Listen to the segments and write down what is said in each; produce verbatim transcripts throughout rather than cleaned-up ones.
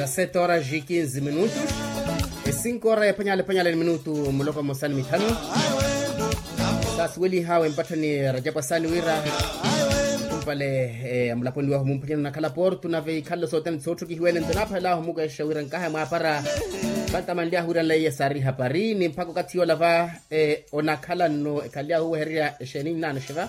Sete horas e quinze minutos. E cinco horas ephwanyala ephwanyala ni minutu muloko mmosa ni mithanu. Saasuwelihawe mpatthani rajapu asaani wira kumpale amulaponi wahu mumphwanyani onakhala portu nave ikhalelo sothene sootthukihiwene nto naaphalela ahu mukexa wira nkahaya mwaapara. Pantamanly'ahu wira nlaiye saari hapari ni mpakha okathi yoola va onakhala nno ekhaly'ahu owehererya exeeni nnaano xiva.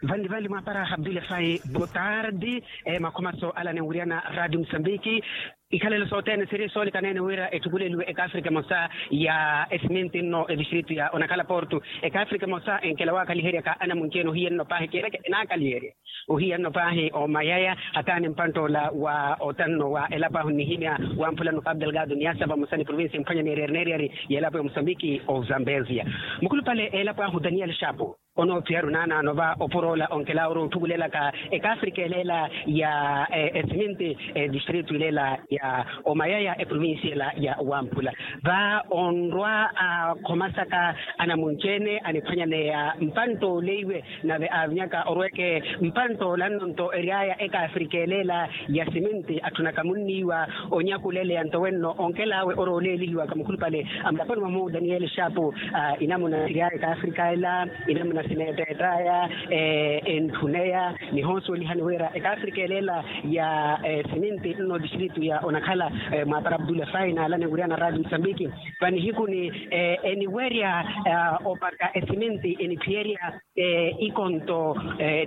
Vanli vanli mwaapara abdule fai botardi. Makhomaso ala ninwiriyana radio musambiki. Ikhalelo sothene siri soonikanene wira etthukuleliwe ekaafrika emosa ya esiminti nno edistritu ya onakhala portu. Ekaafrika emosa enkela waakhaliheryaka anamunci-ene ohiya nno paahi kiireke enaakhaliherya ohiya nno paahi omayaya hataani mpantt'ola wa otanno wa elapo ahu nnihimya wamphula nno kapu delgado niyasa vamosa ni provincia emphwanya neeryari neeryari y'elapo ya musambiki ozambezia. Mukhulupale elapo ahu daniel shapu onoophiyari onaanaano va opur'ola onkelaawe ori otthukulelaka ekaafrika eleela ya esiminti edistritu ileela ya omayaya eprovincia ela ya wamphula va onrwa akhomasaka anamunci-ene aniphwanyaneya mpantt'oleiwe nave aavinyaka orweke mpantt'ola nno nto ery'aya ekaafrika eleela ya siminti atthunaka munniiwa onyakuleleya nto wenno onkelaawe ori oleelihiwaka mukhulupale amulaponi mwahu daniel shapu. Inamuna siry'aya ekaafrika ela inamuna sineetteett'aya entthuneya nihoosuwelihani wira ekaafrika eleela ya siminti nno distritu ya onakhala mwaapara abdule fai naalane wiriana radio musambiki. Vanihikuni eniwerya opaka esiminti eniphiyerya ikonto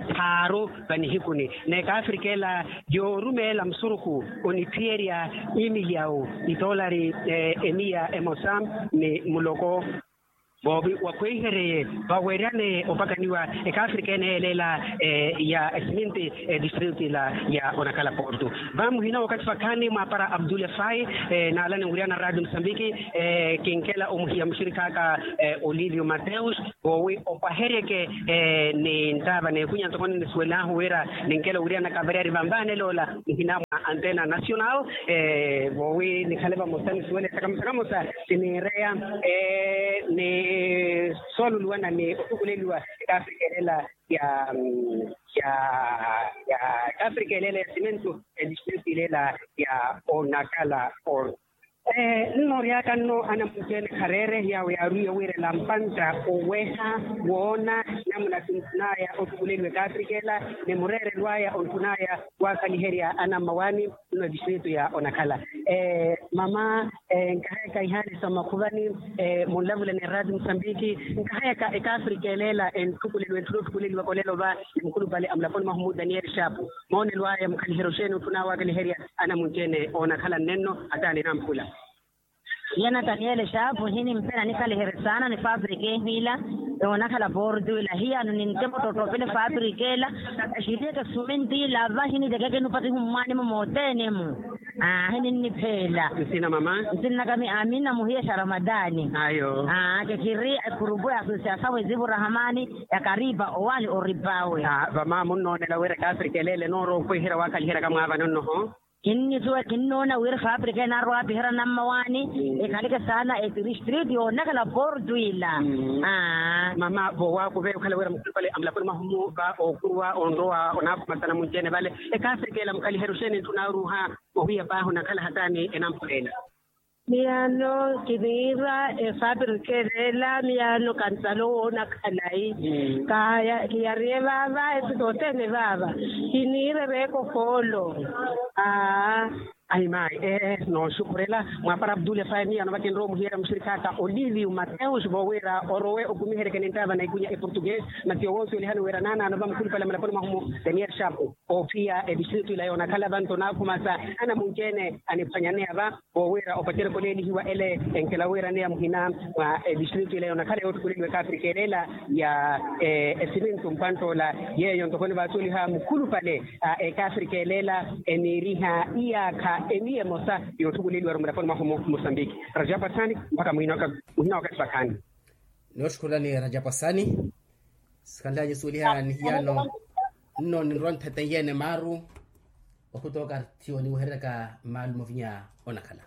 tthaaru vanihikuni n'ekaafrika ela yoorumeela musurukhu oniphiyerya imilyawu itoolari emiya emosa ni muloko voovi wakhweihereye vaweryane opakaniwa ekaafrika ene eleela ya esiminti edistritu ila ya onakhala portu. Va muhina wakathi vakhaani mwaapara abdule fai naalane wiriana radio musambiki kinkela omuhiya muxirik'aka olivio mateus voowi opaheryeke ni nttaava n'ekunya ntoko ninisuwel'ahu wira ninkela owiriyana kavariyari vanvaanel'ola muhina mwa antena nacional voowi nikhale vamosa nisuwele sakamosa kamosa siniireya ni sooluluwana ni ottukuleliwa ekaafrika eleela ya ya ya ekaafrika eleela ya simintu edistritu ileela ya onakhala portu. Nnooryaka nno anamunci-ene khareere yaawo yaarwiiye wiirela mpantta oweha woona namuna sintthun'aya ottukuleliwa ekaafrika ela ni mureerelo aya ontthun'aya waakhaliherya anammawaani nno edistritu ya onakhala. Mama nkahayaka ihaani sa mmakhuvani munlavula ni eraati musambiki nkahayaka ekaafrika eleela entthukuleliwa entthuna otthukuleliwaka olelo va ni mukhulupale amulaponi mwahu mu daniel shapu. Moonelo aya mukhaliherya oxeeni otthuna waakhaliherya anamunci-ene oonakhala nnenno ataani namphula. Hiya nataniele xaapu hinimpela nikhaliherye saana ni fabrika ehiila yoonakhala portu ila hiyano ninttemo ttottopele fabrika ela. Exitiyeke suminti ila va hinitekeke nupatihu mmwaani-mo moothene-mu. Ahi ninnipheela. Nsina mama? Nsinnaka mi amina muhiya xa ramadani. Ayo. Kekhiri epurupu ya asosiasawe zivu rahamani ya karipa owaani oripawe. Vama munnoonela wira ekaafrika eleela enoorowa okhweiherya waakhaliheryaka mwaavano nnoho? Kinnisuwela kinnoona wira fabrika enaarwa aapiherya nammawaani ekhaleke saana etiristriti yoonakhala portu ila. Mama voowaakuve okhala wira mukhulupale amulaponi mwahu-mu va ookuruwa onrowa onaakhuma sanamunci-ene vale. Ekaafrika ela mukhaliherya oxeeni entthuna oruuha ohiya paahi onakhala hataani enampuleela. Miyaano kiniira efabrika ereela miyaano kantalo woona khalayi. Kiyariye vaava esi sothene vaava kiniira ereeko foolo. Aa. Ayi mayi ee nooxukhurela mwaapara abdule faye miyaano vakinrowa omuhiyeerya muxirikhaaka oliviu mateus voowira orowe okumiheryeke ninttaava na ikunya eportuguese. Masi yowoosi olihani wira naanaano vamukhulupale mulaponi mwahu-mu daniel shapu. Oophiya edistritu ila yoonakhala vanto naakhumasa anamunci-ene aniphwanyaneya va. Voowira opacerya koleelihiwa ele enkela wiiraneya muhina mwa edistritu ila yoonakhala yoottukuleliwa ekaafrika eleela ya esimintu mpantt'ola. Yeeyo ntoko nivaasuweliha mukhulupale a ekaafrika eleela eniiriha iyaakha emiya emosa yoottukuleliwa-ru mulaponi mwahu-mu mosambiki. Rajapu asaani mpakha muhina wakathi vakhaani. Nooxukhurela ni rajapu asaani. Sikhanlaya nisuweliha ni hiyano nno ninrowa nthete nyene maaru. Okhutooka thiyo niwehereryaka maalu movinya onakhala.